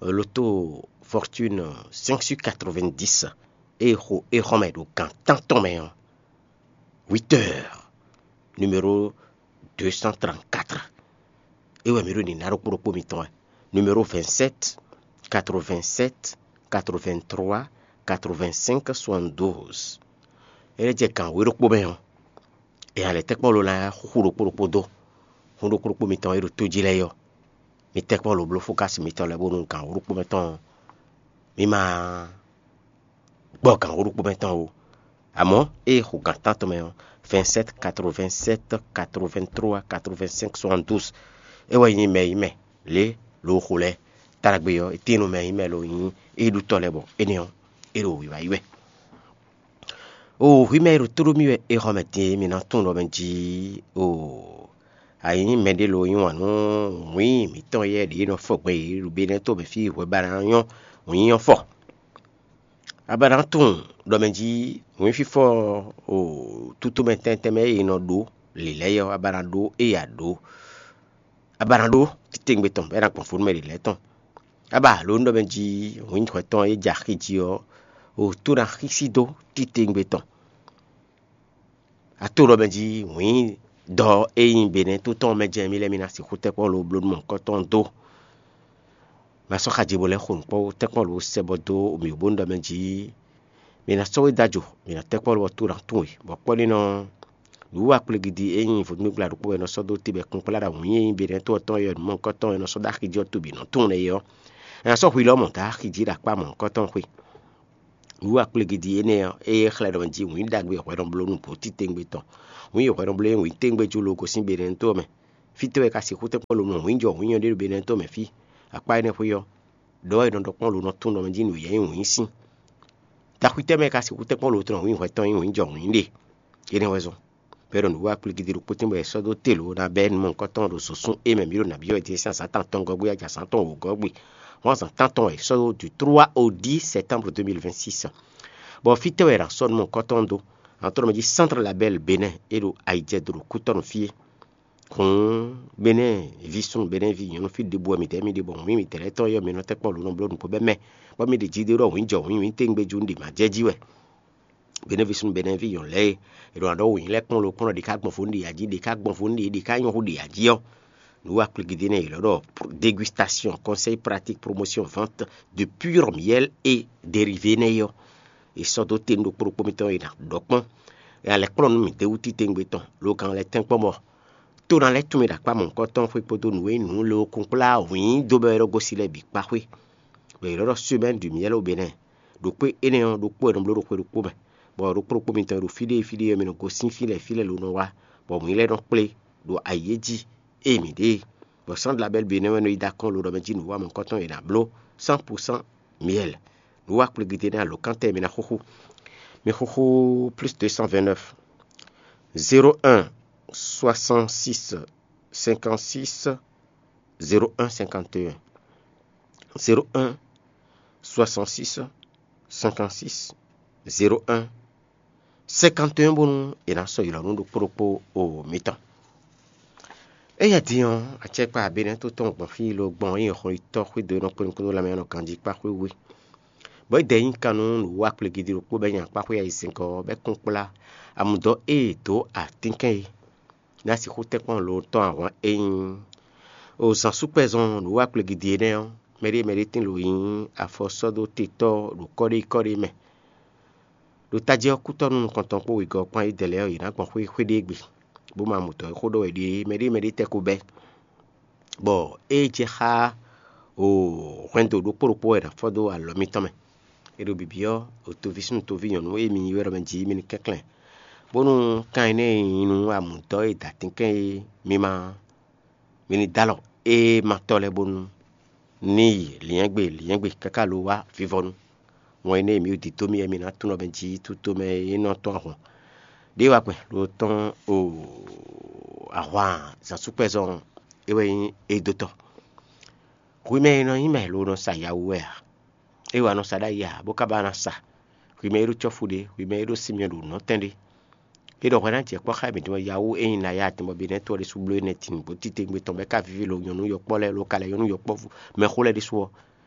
loto fortune cinq sur quatre-vingt-dix e xo é xɔ́ mɛ ɖo gǎn tántɔn mɛ ɔ́, huit heures, numéro deux cent trente-quatre. É wɛ mǐ ɖo nǐ ná ɖokpó ɖokpó mitɔn wɛ. Numéro vingt-sept, quatre-vingt-sept, quatre-vingt-trois, quatre-vingt-cinq, soixante-douze. É lɛ́ jɛ gǎn wǒ ɖokpó mɛ ɔ́, è nǎ lɛ́ tɛ́ kpɔ́ lo ná xúxú ɖokpó ɖokpó dó. Hún ɖokpó ɖokpó mitɔn e ɖo tó jí lɛ́ɛ é ɔ́, mi tɛ́ kpɔ́ lo bló fókási mitɔn lɛ́ɛ bónú gǎn wǒ ɖokpó mɛ tɔn ɔ́, mi ma gbɔ gǎn wǒ ɖokpó mɛ tɔn ó. Amɔ̌ ée xo gǎn tántɔn mɛ ɔ́, vingt-sept, quatre-vingt-sept, quatre-vingt-trois, quatre-vingt-cinq, soixante-douze. É wɛ nyí mɛ e nyí mɛ lě lo xo lɛ́ɛ. Taɖagbe ɔ́, é tín nú mɛ e nyí mɛ lo nyí é ɖutɔ́ lɛ́ɛ bɔ énɛ́ ɔ́, é ɖo wǐwá yi wɛ. Oo, hwi mɛ e ɖo tó ɖó mì wɛ é xɔ mɛ din e mi ná tunwun ɖɔ mɛ jí oo, a nyǐ mɛɖé lo yí wǎn nú wǐin mǐtɔn yɛ ɖě nɔ fɔ gbɛn yě ɖo Benɛ́ to mɛ fí hwɛ ba ná nyɔ́ wǐin ɔ́ fɔ. A ba ná tunwun ɖɔ mɛ jí wǐin fífɔ o tutomɛ tɛntɛn mɛ e è nɔ ɖó lě lɛ́ɛ ɔ́, a ba ná ɖó ée a ɖǒ. A ba ná ɖó titewungbe tɔn bɔ é ná gbɔn fó nú mɛ ɖě lɛ́ɛ tɔn. A ba lǒ nú ɖɔ mɛ jí wǐin hwɛ tɔn e jɛ axi jí ɔ́, o tó ná xísí dó titewungbe tɔn. A to ɖɔ mɛ jí wǐin dɔ e nyí Benɛ́ to tɔn mɛ jɛ́n mì lɛ́ɛ mi ná sixú tɛ́ kpɔ́ lo bló nú mɔ̌hunkɔtɔn dó. Ma sɔ́ xaji bo lɛ́ xo nǔ kpɔ́ tɛ́ kpɔ́ lo sɛ bɔ dó mǐ bó nú ɖɔ mɛ jí mi ná sɔ́ we dó ajo, mi ná tɛ́ kpɔ́ lo bɔ to ná tún we, bɔ kpɔ́ ɖé nɔ nǔwiwa kplé gidi e nyí vodúngbla ɖokpó wɛ è nɔ sɔ́ dó te bɔ kplá ɖo wǐin e nyí Benɛ́ to ɔ́ tɔn e nǔ mɔ̌hunkɔtɔn e nɔ sɔ́ dó axi jí ɔ́ to bǐ nɔ tunwun nɛ́ é ɔ́, è nǎ sɔ́ hwi lɔ mɔ̌ dó axi jí ɖo akpá mɔ̌hunkɔtɔn xwe. Nǔwiwa kplé gidi énɛ́ ɔ́, é xlɛ́ ɖɔ mɛ jí wǐin ɖagbe e hwɛ nɔ bló nú bǒ titewungbe tɔn. Wǐin e hwɛ nɔ bló é wǐin tɛ́ngbɛ́ jú lo gosín Benɛ́to ɔ́ mɛ. Fítɛ́ wɛ ka sixú tɛ́ kpɔ́ lo mɔ wǐin jɔ wǐin ɔ́ ɖé ɖo Benɛ́to mɛ fí? Akpá énɛ́ xwé ɔ́, ɖɔ wɛ è nɔ ɖɔ kpɔ́n lo nɔ tunwun ɖɔ mɛ jí nǔ yɛ nyí wǐin sín. Taxwítɛ́ mɛ ka sixú tɛ́ kpɔ́n lo tlɔn wǐin hwɛtɔn nyí wǐin jɔ wǐin ɖe? Énɛ́ wɛ zɔn. Bɔ é ɖɔ nǔwiwa kplé gidi ɖokpó tɛ́ngbɛ́ è sɔ́ dó te lǒ ná bɛ́ nǔ mɔ̌hunkɔtɔn ɖo zǒsún e mɛ mǐ ɖo nǎ byɔ́ wɛ din sín azǎn tántɔn gɔ́gbé ɔ́ jɛ azǎn tɔn wǒgɔ́ gbe. Hɔn azǎn tántɔn wɛ è sɔ́ dó du trois au dix septembre deux mille vingt-six. Bɔ fítɛ́ wɛ è nǎ sɔ́ nǔ mɔ̌hunkɔtɔn dó? Antɔ́ mɛ jí Centre Label Bénin e ɖo ayijɛdo ɖo Kútɔ́nu fí é. Hǔn Bénin ví súnnu Bénin ví nyɔ̌nu fí ɖěbǔ wɛ mǐdɛɛ mì ɖe bɔ wǐin mǐdɛɛ lɛ́ɛ tɔn ɔ́ yɔ mǐ nɔ tɛ́ kpɔ́ lǒ nɔ bló nǔgbó bɛ́ mɛ, bɔ mì ɖe jí ɖé ɖɔ wǐin jɔ wǐin wǐin téŋgbé jú un ɖi mǎ jɛ jí wɛ. Benɛví súnnu Benɛví nyɔ̌nu lɛ́ɛ e è ɖo ná ɖɔ wǔnyí lɛ́ɛ kplɔ́n ɖokpónɔ ɖě ká gbɔn fó nú ɖě jí, ɖě ká gbɔn fó nú ɖě, ɖě ká nyɔ́ hú ɖě jí ɔ́, nǔ wa kplégídé nɛ́ è lɔ̌ ɖɔ dégustation, conseil pratique, promotion, vente de pur miel et dérivé nɛ́ ɔ́, è sɔ́ dó te nú ɖokpó ɖokpó mitɔn e è nǎ ɖɔ kpɔ́n. È nǎ lɛ́ kplɔ́n nú mǐ d'é wú titewungbe tɔn, lo kan lɛ́ tɛ́nkpɔ́n bɔ tó ná lɛ́ tunwun mì ɖo akpá mɔ̌hunkɔtɔn xwé kpódó nǔ e nyí nǔ lé ɔ́ kúnkplá wǐin dó bɔ é ɖɔ gosín lɛ́ɛ bǐ kpá xwé. Bɔ è nɔ́ ɖɔ semaine du miel au Bénin. Ɖokpó énɛ́ ɔ́, ɖokpó è nɔ bló ɖo xwe ɖokpó mɛ, bɔ ɖokpó ɖokpó mitɔn e ɖo fí ɖé fí ɖé ɔ́, mi nɔ gosín fí lɛ́ɛ fí lɛ́ɛ lo nɔ wá, bɔ mǐ lɛ́ nɔ kplé ɖo ayǐ e jí ée mǐ ɖe é. Bɔ Centre label Bénin wɛ nɔ yi dó akɔ́n lo ɖɔ mɛ jí nǔwanú kɔ́tɔn e è nǎ bló cent pour cent miel. Nǔ wa kplégídé nɛ́ alǒkántɛn e mi ná xúxú. Mi xúxú plus deux cent vingt-neuf, zéro un, soixante-six, cinquante-six, zéro un, cinquante et un, zéro un, soixante-six, cinquante-six, zéro un, cinquante et un, bónú è nǎ sɔ́ ylɔ̌ nú ɖokpó ɖokpó o mitɔn. Éyɛ́ din ɔ́, acɛkpá Benɛ́ tó tɔn gbɔn fí lo gbɔn nyí xɔyítɔ́ xwédo e nɔ kplé nukúnnú lanmɛ ɔ́ nɔ ganjí kpá xwé we. Bɔ é dɛ nyí kan nú nǔwiwa kplégídí ɖokpó bɔ é nyi akpá xwé ayizɛ́ngɔ́ ɔ́, bɔ é kún kplá amudɔ e è dǒ atínkɛn é ná sixú tɛ́nkpɔ́n lo tɔn ahwan e nyí o zǎnsúkpɛzɔn nǔwiwa kplégídí énɛ́ ɔ́, mɛɖé mɛɖé tín lo nyí afɔsɔ́dótetɔ́ ɖo kɔ́ɖékɔ́ɖé mɛ. Ɖo tají ɔ́, kútɔ́ nú nukɔntɔn kpó wegɔ́ kpán yědɛɛ lɛ́ɛ ɔ́, yě ná gbɔn xwé xwé ɖé gbe, bó ma mɔ mǔtɔn e xó ɖɔ wɛ ɖe é. Mɛɖé mɛɖé tɛ́ ko bɛ́, bɔ é jɛ xá o hwɛndo ɖokpó ɖokpó wɛ è nǎ fɔ́ dó alɔ mitɔn mɛ. É ɖo bǐbí ɔ́, o toví súnnu toví nyɔ̌nu e mi nyi wɛ ɖɔ mɛ jí mi ní kɛnklɛ́n, bónú kan énɛ́ e nyí nú amǔdɔ́ e da tínkɛ́n é mi ma mi ní dó alɔ ée ma tɔ́ lɛ́ɛ bónú ní yi lyɛ̌ngbe lyɛ̌ngbe káká lo wá vivɔnu. Wɛn énɛ́ e mǐ ɖo dǐdó mì wɛ mi ná tunwun ɖɔ mɛ jí tutomɛ e nɔ tɔ́n ahwan ɖě wá kpɛn lo tɔ́n o ahwan zǎnsúkpɛzɔn é wɛ nyí é dó tɔ́. Hwi mɛ e nɔ nyí mɛ lo nɔ sa yawu wɛ a? É wɛ a nɔ sa ɖ'ayǐ ǎ, bó ka ba ná sa. Hwi mɛ e ɖó cɔ́fu ɖé, hwi mɛ e ɖó sinmɛ ɖo nɔ̌tɛn ɖé. É ɖɔ hwɛ ná jɛ kpɔ́ xá mǐtɔn yawú e nyí Naya tɔn bɔ Benɛ́ to ɔ́ ɖésú bló énɛ́ tin bó títewungbe tɔn bɔ é ka víví lo nyɔ̌nu yɔkpɔ́ lɛ́ɛ lo ka lɛ́ nyɔ̌nu yɔkpɔ́vú mɛxó lɛ́ɛ ɖésú ɔ́,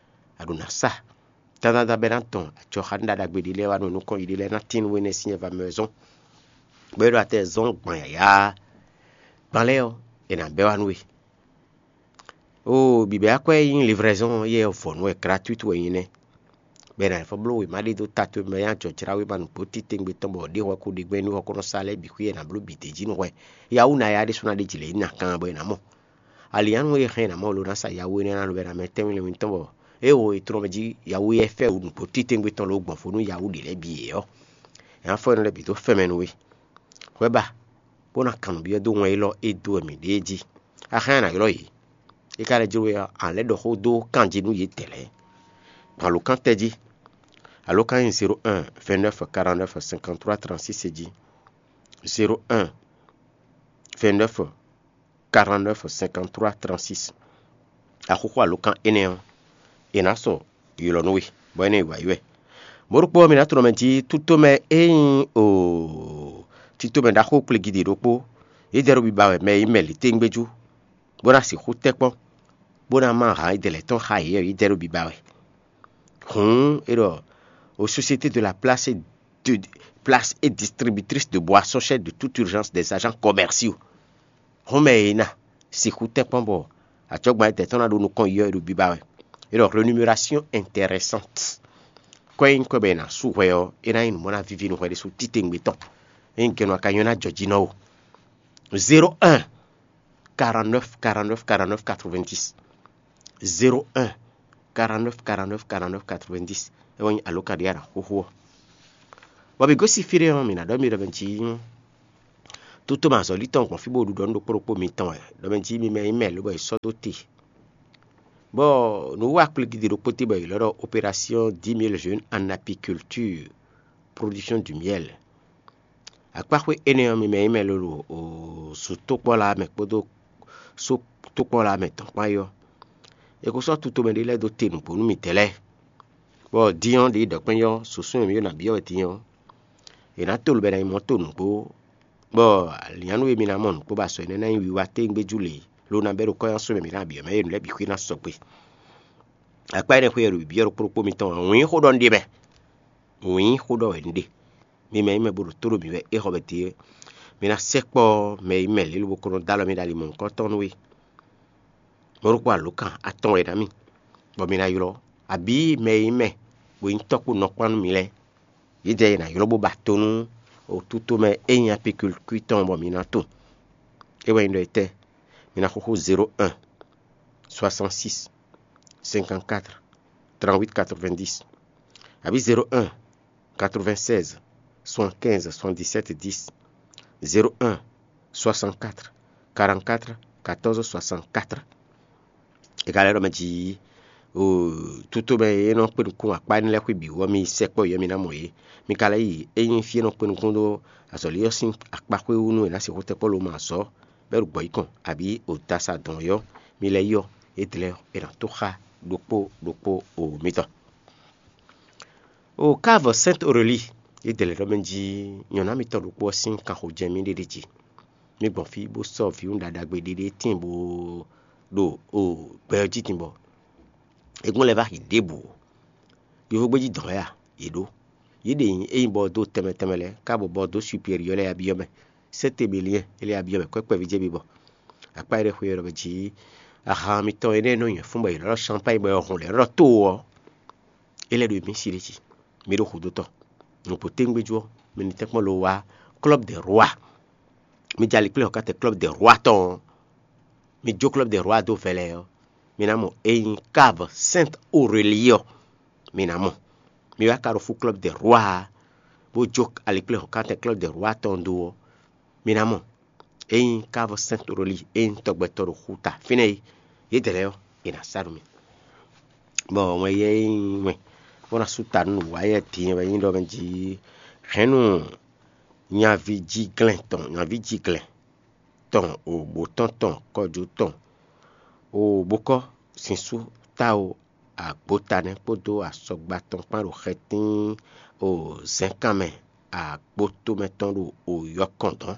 a ɖo nǎ sa. Tántánta bɔ é ná dɔn acɔxanúɖaɖagbe ɖé lɛ́ɛ wá nɔ nukɔn yěɖée lɛ́ɛ ná tín nú énɛ́ sín nyɛ va mɛ wɛ zɔ́n. Bɔ é ɖo atɛ zɔ́n gbɔn yǎyá gban lɛ́ɛ ɔ́, è nǎ bɛ́ wá nú we. Oo, bǐbɛ́ akwɛ́ e nyí livraison ɔ́ yɛ vɔ̌nu wɛ, gratuite wɛ nyí nɛ́. Bɔ è nǎ fɔ bló wěma ɖé dó ta towe mɛ, bɔ é ná jɔ jlá wěma nǔgbó titewungbe tɔn bɔ ɖěhwɛ ko ɖe gbɛn nú hɔkɔ́nɔ sa lɛ́ɛ bǐ xwí è nǎ bló bǐ d'é jí nú hwɛ. Yawú ná ya ɖésú ná ɖe jǐ lě nyi nǎ kan bɔ è nǎ mɔ. Alǐnnyánú e hɛn è nǎ mɔ lo ná sa yawú énɛ́ ná lo bɔ è nǎ mɛ tɛ́nwún lɛ́nwún tɔn bɔ é wo è tlɔ́n mɛ jí yawú éyɛ́ fɛ́ wǔ nǔgbó titewungbe tɔn ló gbɔn fó nú yawú ɖě lɛ́ɛ bǐ é ɔ́, è nǎ fɔ énɛ́ lɛ́ɛ bǐ dó fɛn mɛ nú we. Hwɛ ba, bó ná kan nǔ byɔ́ dó wɛn élɔ́ e dó wɛ mǐ ɖe é jí. A hɛn a nǎ ylɔ́ yě. É ka lɛ́ jló we ɔ́, a lɛ́ ɖɔ xó dó kanjí nú yědɛɛ lɛ́ɛ. Gbɔn alǒkan tɛ́ jí? Alǒkan nyí zéro un, vingt-neuf, quarante-neuf, cinquante-trois, trente-six jí. Zéro un, vingt-neuf, quarante-neuf, cinquante-trois, trente-six. Axóxó alǒkan énɛ́ ɔ́, è nǎ sɔ ylɔ̌ nú we, bɔ énɛ́ yi wǎ yi wɛ. Mɔ̌ ɖokpó ɔ́, mi ná tlɔ́n mɛ jí tútomɛ e nyí o títomɛ ɖaxó kplégídí ɖokpó, yědɛɛ ɖo biba wɛ mɛ e nyí mɛ lǐténgbéjú, bó ná sixú tɛ́ kpɔ́n, bó ná má hǎn yědɛɛ lɛ́ɛ tɔn xá yě ɔ́, yědɛɛ ɖo biba wɛ. Hǔn é ɖɔ: Aux sociétés de la place et, de, place et distributrice de boissons chères de toute urgence des agents commerciaux. Hɔn mɛ e ná sixú tɛ́nkpɔ́n bɔ acɔ́gbɛ́n tɛn tɔn ná ɖo nukɔn yi ɔ́, è ɖo biba wɛ. É ɖɔ rémunération intéressante. Kɔ e nyí kɔ bɔ è nǎ sú hwɛ ɔ́, é ná nyí nǔ mɔ ná víví nú hwɛ ɖésú titewungbe tɔn. É nyí gɛ́nú a ka nyɔ́ ná jɔ jí nɔ o. Zéro un, quarante-neuf, quarante-neuf, quarante-neuf, quatre-vingt-dix. Zéro un, quarante-neuf, quarante-neuf, quarante-neuf, quatre-vingt-dix. É wɛ nyí alǒkan ɖé a nǎ xúxú ɔ́. Bɔ mǐ gosín fí ɖé ɔ́, mǐ ná ɖɔ mì ɖɔ mɛ jí tótó mɛ azɔ̌lí tɔn gbɔn fí bó ɖu ɖɔ nú ɖokpó ɖokpó mitɔn wɛ, ɖɔ mɛ jí mi mɛ nyí mɛ lobɔ è sɔ́ dó te. Bɔ nǔwiwa kplégídí ɖokpó tɛ́ bɔ è ylɔ́ ɖɔ opération dix mille jeunes en apiculture, production du miel. Akpáxwé énɛ́ ɔ́, mi mɛ nyí mɛ lolo o su tókpɔ́la mɛ kpódó só tókpɔ́la mɛ tɔn kpán é ɔ́, è ko sɔ́ tutomɛ ɖé lɛ́ɛ dó te nǔgbó nú midɛɛ lɛ́ɛ. Bɔ din ɔ́, ɖě ɖɔ kpɛ́n ɔ́, susú e mǐ ɖo nǎ byɔ́ wɛ din ɔ́, è nǎ to lobɛ ná nyí mɔ̌ to nǔgbó, bɔ alǐnnyánú e mi ná mɔ nǔgbó ba sɔ énɛ́ ná nyí wiwa téwúngbéjú lě, lo ná bɛ́ ɖo kɔ́ nyi asú mɛ mǐ ná byɔ́ mɛ e nǔ lɛ́ɛ bǐ xwé ná sɔgbe. Akpá énɛ́ xwé e ɖo bǐbyɔ́ ɖokpó ɖokpó mitɔn ɔ́, wǐin xó ɖɔ un ɖe mɛ. Wǐin xó ɖɔ wɛ un ɖe. Mi mɛ e nyí mɛ bo ɖo tó ɖo mǐ wɛ é xɔ bɛ́ din é, mi ná sɛkpɔ́ mɛ e nyí mɛ lě lobo ko nɔ dó alɔ mì ɖo ali mɔ̌hunkɔtɔn nú we. Mɔ̌ ɖokpó alǒkan atɔn wɛ ná mì, bɔ mi ná ylɔ́, abǐ mɛ e nyí mɛ bo nyí tɔ́ kpó nɔ kpán nú mi lɛ́ɛ. Yědɛɛ è nǎ ylɔ́ bó ba to nú wǒtútomɛ e nyí Apikulukúi tɔn bɔ mi ná tunwun. É wɛ nyí ɖɔ étɛ́? Mi ná xúxú zéro un, soixante-six, cinquante-quatre, trente-huit quatre-vingt-dix, abǐ zéro un, quatre-vingt-seize, soixante-quinze, soixante-dix-sept, dix, zéro un, soixante-quatre, quarante-quatre, quatorze, soixante-quatre. È ka lɛ́ ɖɔ mɛ jí o tútomɛ e nɔ kpé nukún akpá énɛ́ lɛ́ɛ xwé bǐ wú ɔ́, mi yi sɛkpɔ́ yě, mi ná mɔ yě. Mi ka lɛ́ yi é nyí fí e nɔ kpé nukún ɖó azɔ̌lí ɔ́ sín akpá xwé wú nú è nǎ sixú tɛkpɔ́ lomɛ azɔ̌ bɔ é ɖo gbɔ̌ yí kɔn, abǐ o dasa dɔn ɔ́, mi lɛ́ yi ɔ́, édɛɛ lɛ́ɛ ɔ́, è nǎ tó xá ɖokpó ɖokpó o mitɔn. O Cave Sainte Aurélie, édɛɛ lɛ́ɛ ɖɔ mɛ jí nyɔ̌ná mitɔn ɖokpó ɔ́ sín kanxojɛ́n mì ɖe ɖ'é jí. Mi gbɔn fí bó sɔ́ vǐwun ɖaɖagbe ɖé ɖé tíin bó ɖo o gbɛ ɔ́ jí din bɔ é gbɔn lɛ́ vá xi ɖěbǔ ó. Yovógbéjí dɔn wɛ a? Yě ɖó. Yě ɖe nyí ényí bɔ dó tɛnmɛ tɛnmɛ lɛ́ɛ, ká bɔ bɔ dó superiɔ́ lɛ́ɛ ya byɔ́ mɛ. Sɛ́ te bě liɛ́n, é lɛ́ ya byɔ́ mɛ kwɛ́kpɛ́ví jɛ bibɔ. Akpá e ɖe xwe ɔ́ ɖɔ mɛ jí ahan mitɔn énɛ́ e nɔ nyɛ fún bɔ yě nɔ ɖɔ champagne bɔ è hɔn lɛ̌ nɔ ɖɔ to ɔ́, é lɛ́ ɖo mǐ si ɖé jí. Mi ɖo xudó tɔn. Nǔgbó téŋgbéjú ɔ́, mi ní tɛ́nkpɔ́n lo wá Club des Rois. Mi jɛ ali kplé xɔkátɛ Club des Rois tɔn ɔ́, mi jó Club des Rois dó vɛlɛ ɔ́, mi ná mɔ é nyí Cave Sainte Aurélie ɔ́, mi ná mɔ. Mi wá Carrefour Club des Rois ɔ́, bó jó ali kplé xɔkátɛ Club des Rois tɔn dó ɔ́, mi ná mɔ. É nyí Cave Sainte Aurélie, é nyí tɔgbɛtɔ́ ɖo xúta fínɛ́ é, yědɛɛ lɛ́ɛ ɔ́, è nǎ sa nú mi. Bɔ wɛn yɛ e nyí wɛn bó ná sú ta nú nǔwáyɛ din wɛ nyí ɖɔ mɛ jí hɛ̌nnu nyavíjíglɛ́n tɔn, nyavíjíglɛ́n tɔn, o bǒtɔ́n tɔn, kɔjú tɔn, o bókɔ́ sinsú táwo agbótanɛ́ kpódó asɔgba tɔn kpán ɖo xɛtín o zɛ̌nkan mɛ agbótomɛ tɔn ɖo o yɔkɔn dɔn.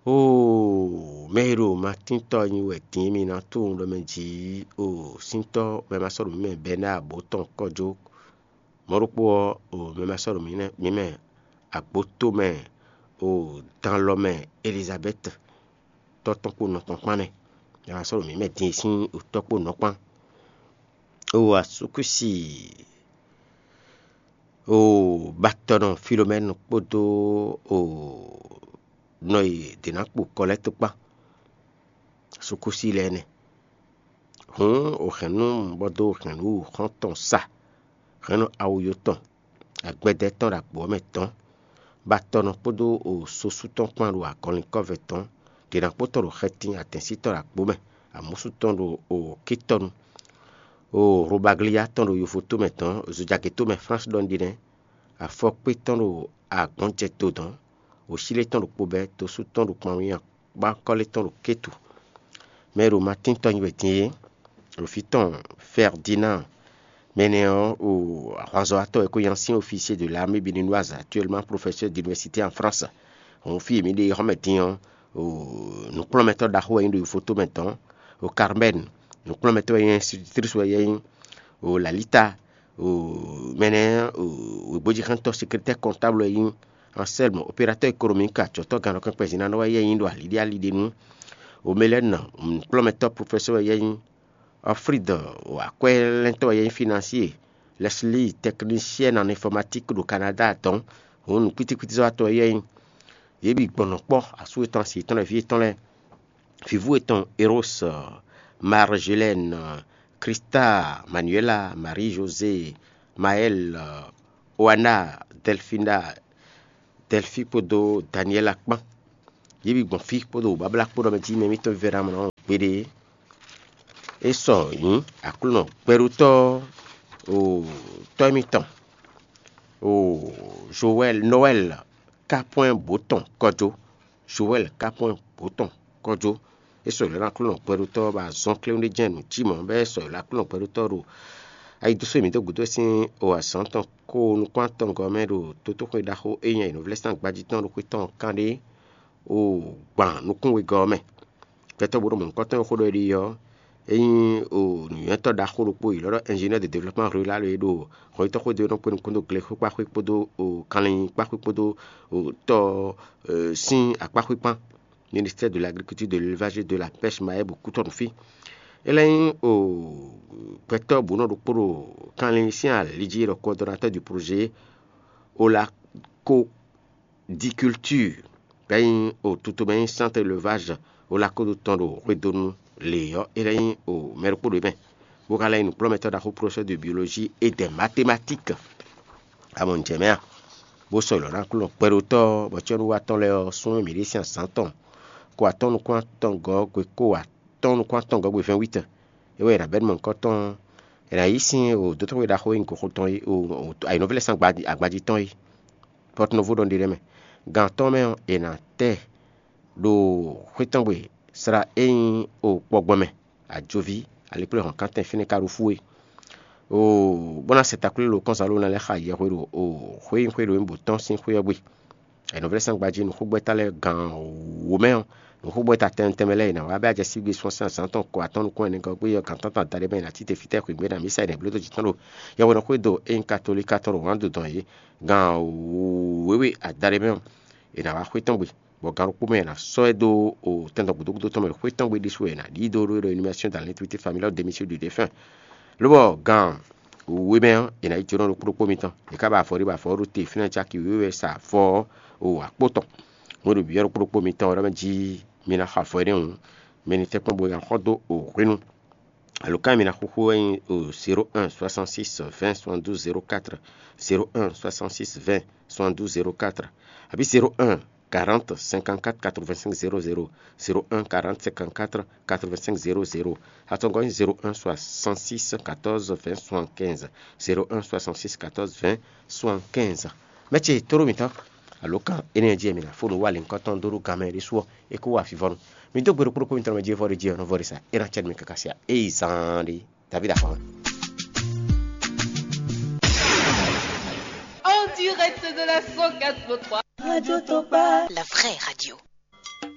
Oo, mɛ e ɖo matíntɔ́ nyi wɛ din mi ná tunwun ɖɔ mɛ jǐ, oo, síntɔ́ mɛ ma sɔ́ ɖo mǐ mɛ bɛ́ ná abǒ tɔn kɔ́ jó. Mɔ̌ ɖokpó ɔ́, oo, mɛ ma sɔ́ ɖo mǐ mɛ agbótomɛ, oo, dan lɔ mɛ Elizabɛ́ti tɔ́ tɔn kpó nɔ tɔn kpán nɛ́. Mɛ ma sɔ́ ɖo mǐ mɛ din e sín tɔ́ kpó nɔ kpán. Oo, asúkúsi, oo, batɔnɔ Filomɛ́nu kpódó, oo, nɔ e dě ná kpo kɔ lɛ́ɛ tó kpán. Sukúsi lɛ́ɛ nɛ́. Hǔn o hɛ̌nnu bɔ dó hɛ̌nnu xɔ́ntɔn sa, hɛ̌nnu awu yotɔn, agbɛdɛ tɔn ɖo agbo ɔ́ mɛ tɔn, bɔ atɔnɔ kpódó o sosú tɔn kpán ɖo agɔnlinkɔ́vɛ tɔn, ɖě ná kpó tɔn ɖo xɛtin atɛ̌nsítɔ́ ɖo agbo mɛ, amǔsú tɔn ɖo o kítɔ́nu, o hlobagliyá tɔn ɖo yovotómɛ tɔn, zojagětómɛ Flánsi ɖɔ un ɖi nɛ́, afɔkpé tɔn ɖo agbɔ̌njɛdo dɔn, wǒsílé tɔn ɖo kpo bɛ́, dosú tɔn ɖo kpanwun nyi akpákɔ́lé tɔn ɖo Kétu. Mɛ e ɖo Matín tɔn nyi wɛ din é, ɖo fí tɔn Fɛrdinand. Mɛ énɛ́ ɔ́, o ahwanzɔ́watɔ́ wɛ kó nyí ancien officier de l'armée béninoise, actuellement professeur d'université en France. Hǔn fí e mǐ ɖe xɔ́mɛ din ɔ́, o nǔkplɔ́nmɛtɔ́ ɖaxó wɛ nyí ɖo yovotómɛ dɔn, o Carmen, nǔkplɔ́nmɛtɔ́ wɛ nyí, institutrice wɛ nyí, o Lalita, o mɛ énɛ́, o wěgbójíxántɔ́, secrétaire comptable wɛ nyí, Anselme, opérateur économique, acɔ̌tɔ́ gannɔkɛ́nkpɛn zinanɔ wɛ yɛ nyí ɖo aliɖíali ɖe nu. O Mélène, nǔkplɔ́nmɛtɔ́ professeur wɛ yɛ nyí. Alfred, o akwɛ́lɛ́ntɔ́ wɛ yɛ nyí financier. Leslie, technicienne en informatique ɖo Canada dɔn. Hǔn nǔkpítíkpítí zɔ́watɔ́ wɛ yɛ nyí. Yě bǐ gbɔn nɔ kpɔ́ asú yětɔn, asi yětɔn lɛ́ɛ, vǐ yětɔn lɛ́ɛ. Vǐvú yětɔn Eros, Marjolaine, Krista, Manuela, Marie José, Maël, Oana, Delfina, Delphi kpódó Daniela kpán. Yě bǐ gbɔn fí kpódó wǔbáblá kpó ɖɔ mɛ jí mɛ mǐtɔn vívɛ́ná mlɔ́ gbeɖé. É sɔ nyǐ Aklúnɔ gbɛɖótɔ́, o tɔ́ émítɔn, o Joël, Noël Kapwɛ́n bǒ tɔn kɔjó. Joël Kapwɛ́n bǒ tɔn kɔjó. É sɔ ylɔ́ ná Aklúnɔ gbɛɖótɔ́ ɔ́ ba zɔn kléwún ɖé jɛ́n nǔ jí mɔ̌, bɔ é sɔ ylɔ́ Aklúnɔ gbɛɖótɔ́ ɖo ayidúsú e mǐ dó gǔdo sín o azǎn tɔn kó nukún-atɔngɔ́ mɛ ɖo totóxwe ɖaxó e nyí ayǐnúvlɛ́sán gbájí tɔn ɖo xwé tɔn kán ɖé o gban nukún wegɔ́ ɔ́ mɛ. Gbɛtɔ́ bó ɖo mɔ̌hunkɔtɔn e xó ɖɔ é ɖe ɔ́, Ényí o nǔnywɛ́tɔ́ ɖaxó ɖokpó yi lɔ́ ɖɔ ingénieur de développement rural e ɖo hɔnyitɔ́ xwedó e nɔ kpé nukún dó glexwékpaxwé kpódó o kanlin kpaxwé kpódó o tɔ sín akpáxwé kpán, ministère de l'agriculture, de l'élevage et de la pêche Mahe bo kútɔ́ nǔ fí. É lɛ́ nyí o gbɛtɔ́ bǔnɔ ɖokpó ɖo kanlin sín ali jí e ɖɔ coordonnateur du projet Olako diculture, bɔ é nyí o tutomɛ nyí centre élevage Olako ɖo tɔn ɖo hwedonu lě ɔ́, é lɛ́ nyí o mɛ ɖokpó ɖo é mɛ, bó ka lɛ́ nyí nǔkplɔ́nmɛtɔ́ ɖaxó professeur de biologie et des mathématiques. Amɔ un jɛ mɛ a? Bó sɔ́ lɔ̌ ná Aklúnɔ kpɛɖótɔ́ bɔ cyɔ́núwa tɔn lɛ́ɛ ɔ́ sún mǐ ɖe sín azǎn tɔn ko atɔ́ɔ́n nukún atɔngɔ́ gbe ko atɔ́ɔ́n nukún atɔngɔ́ gbe vɛ́nwítɔn. É wɛ è nǎ bɛ́ nú mɔ̌hunkɔtɔn, è nǎ yí sín o dótɔ́xwé ɖaxó e nyí goxo tɔn é, o ayǐnɔ́vlɛ́sán agbají tɔn é. Pɔ́tnɔvú ɖɔ ɖe nɛ́ mɛ. Gan atɔ́ɔ́n mɛ ɔ́, è nǎ tɛ ɖo xwé tɔn gbe sla e nyí o kpɔgbɔn mɛ, ajoví, alikpléhɔ̌nkántɛn fínɛ́ ka ɖo fú é. Oo, bó ná sɛ takwílilo kɔ́nzǎn ló ná lɛ́ xa yɛhwe ɖo o xwé e nyí xwé ɖo nyǐbǔ tɔn sín xwé ɔ́ gbe. Ayǐnɔ́vlɛ́sán gbají nǔxógbɛ́ta lɛ́ɛ gan wǒ mɛ ɔ́, nǔxógbɛ́ta tɛnmɛ tɛnmɛ lɛ́ɛ è nǎ wá bɛ́ acɛ sígbe sun sɛ́n azǎn tɔn ko atɔ́ɔ́n nukún ɛnɛ gɔ́ gbé ɔ́, gan tántɔn adaɖé mɛ è nǎ cí te fítɛ́ xwǐgbé ná mǐ sa è nǐ bló dó jǐ tɔn ɖo yɛhwenɔ́ xwé do e nyí katolíka tɔn ɖo wǎn dodɔn yě. Gan wěwe adaɖé mɛ ɔ́, è nǎ wá xwé tɔn gbe, bɔ gan ɖokpó mɛ è nǎ sɔ́ ɛ dó o tɛndɔ gǔdo gúdo tɔn mɛ ɖo xwé tɔn gbe ɖésú wɛ è nǎ ɖí dó ɖó ɖo animation dans l'intimité familiale de monsieur du défunt. Lobɔ gan wěwe mɛ ɔ́, è nǎ yi jǒnɔ ɖokpó ɖokpó mitɔn. È ká ba avɔ ɖé bɔ avɔ ɔ́ ɖo te fínɛ́ caki wěwe wɛ sa avɔ ɔ́ o akpó tɔn. Hwenu ɖo byɔ́ ɖokpó ɖokpó mitɔn ɔ́ ɖɔ mɛ jí mi ná xɔ avɔ énɛ́ hǔn, mi ní tɛ́nkpɔ́n bo ná xɔ dó o hwenu. Alǒkan e mi ná xúxú wɛ nyí o zéro un soixante six vingt soixante douze zéro quatre, zéro un soixante six vingt soixante douze zéro quatre, abǐ zéro un quarante cinquante quatre quatre vingt cinq zéro zéro, zéro un quarante cinquante quatre quatre vingt cinq zéro zéro. Atɔngɔ́ nyí zéro un soixante six quatorze vingt soixante quinze, zéro un soixante six quatorze vingt soixante quinze. Mɛ ce tóɖó mǐtɔn, alǒkan énɛ́ jí e mi ná fó nǔ wa lěhunkɔtɔn dó ɖó ganmɛ ɖésú ɔ́, é kó wa fǐvɔ́nu. Mi dó gbe ɖokpó ɖokpó mitɔn mɛ jí e vɔ ɖé jí ɔ́, nɔ vɔ ɖé sa, é ná cɛ nú mi káká se ǎ. Ée zaan ɖé, David Afan. En direct de la cent quatre point trois. Radio Topa. La vraie radio.